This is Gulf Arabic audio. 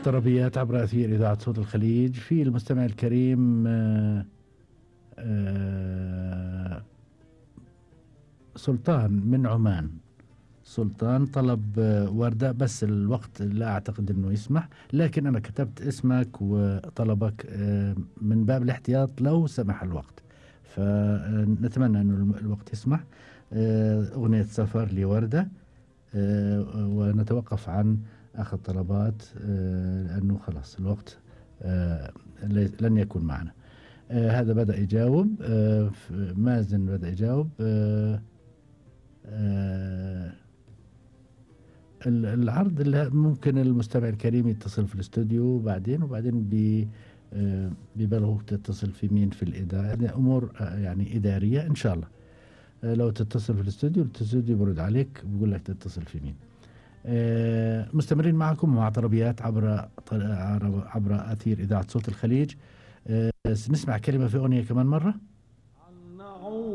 طربيات عبر أثير إذاعة صوت الخليج. في المستمع الكريم سلطان من عمان. سلطان طلب وردة، بس الوقت لا أعتقد أنه يسمح، لكن أنا كتبت اسمك وطلبك من باب الاحتياط لو سمح الوقت، فنتمنى أنه الوقت يسمح. أغنية سفر لوردة، ونتوقف عن أخذ طلبات لأنه خلاص الوقت لن يكون معنا. هذا بدأ يجاوب، مازن بدأ يجاوب. العرض اللي ممكن المستمع الكريم يتصل في الاستوديو وبعدين بيبلغوك تتصل في مين في الإدارة، يعني أمور يعني إدارية إن شاء الله. لو تتصل في الاستوديو برد عليك بيقول لك تتصل في مين. مستمرين معكم مع طربيات عبر أثير إذاعة صوت الخليج. نسمع كلمة في أغنية كمان مرة.